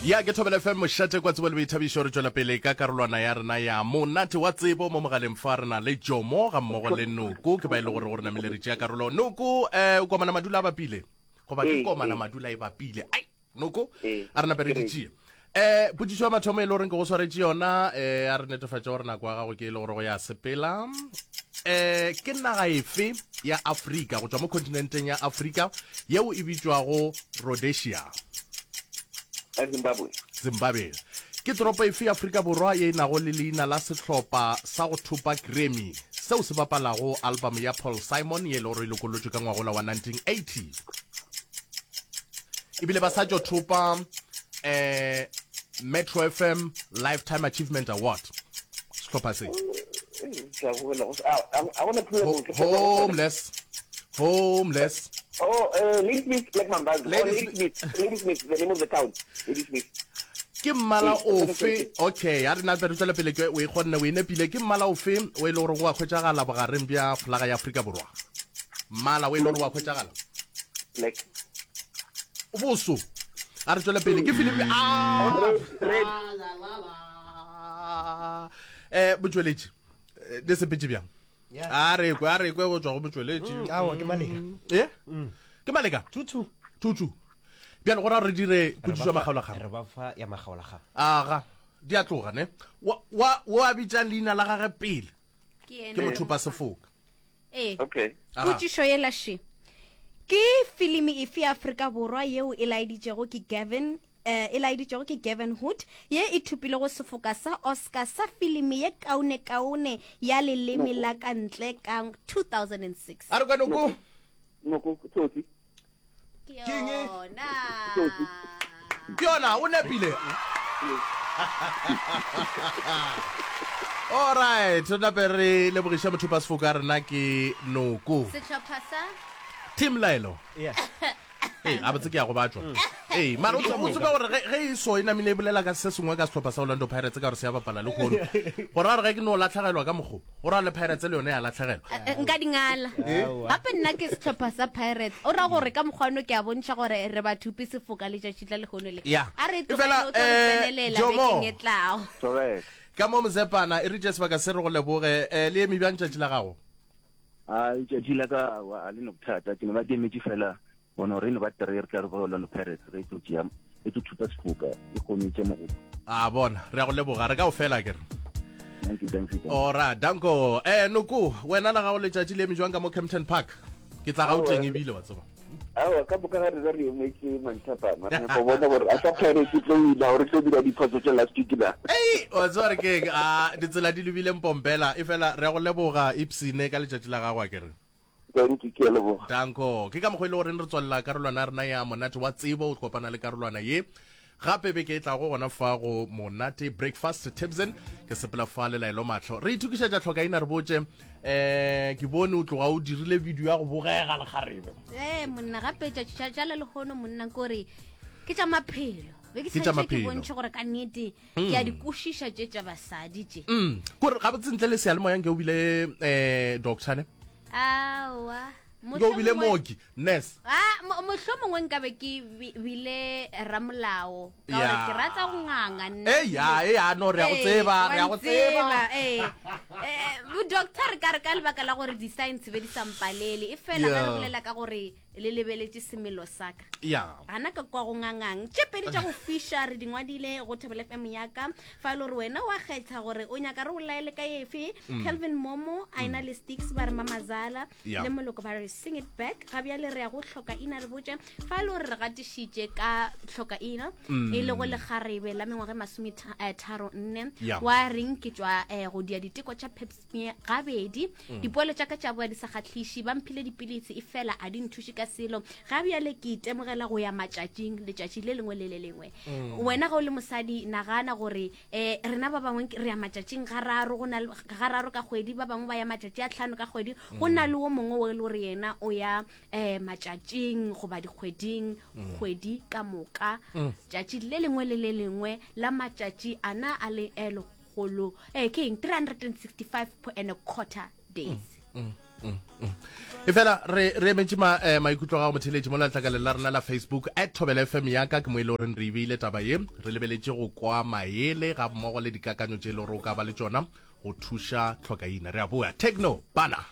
Ya ke Thobela FM mošate kwa tsebo le boithabišo re tšwela pele ka karolwana ya rena ya monate wa tsebo mo mogaleng fa re na le Jomo ga mmogo le Noko ke ba e le gore go re namile re tšea karolo Noko eh o komana madula a bapile goba ke komana madula e bapile ai Noko a re nape re di tšee eh potšišo ya mathomo e le goreng ke go swaretše yona eh a re netefatše gore nako ya gago ke e le gore go ya sepela eh ke naga efe ya Afrika go tšwa mo kontinenteng ya Afrika yeo e bitšwago Rhodesia Zimbabwe Zimbabwe ke toropo efe ya Afrika Borwa ye e nago le leina la sehlopa sa go thopa Grammy seo se bapalago album ya Paul Simon ye e le gore e lokollotšwe ka ngwagola wa 1980 ebile ba sa tšo thopa eh Metro FM Lifetime Achievement Award sehlopha se homeless homeless Oh, uh, Ladysmith Black Mambazo. Oh, Ladysmith. Ladysmith, the name of the town. Ladysmith. Ke mmala ofe okay a re na re tswele pele ke o e kgonne o e nepile ke mmala ofe o e le gore o a hwetšagala bogareng bja folaga ya Afrika Borwa mmala o e le gore o a hwetšagala Black. Boso. A re tswele pele ke filimi a Red. Eh botšweletši eh, di sepetše bjang? A re kwe a re kwe go tšwa go motšweletši. Mm, aowa ke maleka. Eh? Mm. Ke maleka? Tutu. Tutu. Bjale go ra re dire potšišo ya makgaolakgang. Re ba fa ya makgaolakgang. Aga, di a tloga ne. Wa wa wa bitša leina la gage pele. Ke mothupa sefoka. Ee. Okay. Potšišo yela še. Ke filimi efe ya Afrika Borwa yeo e laeditšego ke Gavin eh, e laeditšego ke Gavin Hood ye e thopilego sefoka sa Oscar sa filimi ye kaonekaone ya leleme la ka ntle ka 2006? A re kwa noko. Noko, Tsotsi. Ke yona. Ke yona, o nepile. Alright, re nape re lebogiša mothupa sefoka rena ke Noko. Sehlopha sa Team Laelo. Yeah. Ee, a botse ke ya go batšwa. Ee, mara o tsebe gore ge e so e namile e bolela ka se sengwe ka sehlopha sa Orlando Pirates ka gore se ya bapala le kgono. Gore a re ge ke no latlhegelwa ka mokgo, go ra le Pirates le yone ya latlhegelwa. Eh, eh, nka dingala gape nna ke sehlopha sa Pirates o ra gore ka mokgwano ke a bontšha gore re ba thupi sefoka letšatši la lehono le Ya. a re E fela, tlogele o tlo re eh, tsenelela Jomo. bekeng e tlago Correct. Ka mo Mzepana, e ritše sebaka se re go leboge. Eh, le eme bjang tšatši la gago? A letšatši la ka aowa a le no bothata, ke no ba ke emetše fela bona gore e no ba three re tla re go Orlando Pirates re tlo tšea e tlo thupa sefoka e kgone e tše mogopo. A bona, re a go leboga, re ka o fela ke re. Thank you, thank you, thank you. Ora, danko. Eh, Noko, wena la gago letšatši le eme jwang ka mo Kempton Park? Ke tla Gauteng ebile wa tseba. Aowa, ka moka ga rena re emetše manthapama, re nyaka go bona gore a sa Pirates e tlo wina gore tlo dira diphoso tša last week na. Ei, wa tseba re keng, a ditsela di lebile mpompela, efela re a go leboga Ipsine ka letšatši la gago a ke re. Thank you, ke a leboga. Danko. Ke ka mokgwa e le goreng re tswalela karolwana ya rena ya monate wa tsebo, o kopana le karolwana ye gape beke e tlago gona fa go monate breakfast tibson ke sepela fa le laelo mahlo re itokišetša tlhokaina re botše um ke bone o tloga o dirile video ya go bogega lekgarebe ee monna gape tšatši tša le lehono monna kore ke tša maphelo be ke Ke tša tshwanetse ke maphelo. bontšhe gore ka nnete ke a di kwešiša tše tša basadi tše Mm, kore gabotse ntle le seyalemoya nke o bile um doctor ne aowa nke o bile mooki nurse Ah, mo- mohlomongwe nkabe ke bi- bile ramolao ka gore Ya. ke rata go nganga nna. Ei, ya, ei, ya, no, re a go Ee, tseba, wa re a go tseba. ntseba, ee. Eh, bo-doctor re ka re ka lebaka la gore di-science be di sa mpalele e fela ge re Yeah. bolela ka gore le lebeletše semelo sa ka ya gana ka kwa go ngangang tše pedi tša go fiša re di ngwadile go thobela fm ya ka fa e le gore wena wa kgetha gore o nyaka re o laele ka efe calvin momo a ena le sticks ba re mamazala Yeah. le moloko ba re sing it back ga bjale re ya go hloka ina re botše fa e le gore re gatišitše ka hloka ina e lego lekgarebe la mengwaga e masome eh, tharo nne Yeah. wa reng ke tšwa eh, go dia diteko tša pep smear gabedi dipoelo tša ka tša boa di sa kgahliše ba mphile dipilisi e fela a di nthuše ka selo ga bjale ke itemogela go ya matšatšing letšatši le lengwe le le lengwe wena ga o le mosadi nagana gore um rena ba bangwe re ya matšatšing gararo go na le gararo ka kgwedi ba bangwe ba ya matšatši a tlhano ka kgwedi go na le wo mongwe o e le gore yena o ya um matšatšing goba dikgweding kgwedi ka moka tšatši le lengwe le le lengwe la matšatši ana a le eh, lekgolo eh ke eng 365 and a quarter days Mm, mm. Efela re re emetše ma, eh, maikutlo a gago motheeletši mo letlakaleng la rena la Facebook at Thobela FM ya ka ke mo e le goreng re e beile taba ye re lebeletše go kwa maele ga mmogo le dikakanyo tše e le gore o ka ba le tšona go thuša tlhokaina. Re a boa. Techno bana.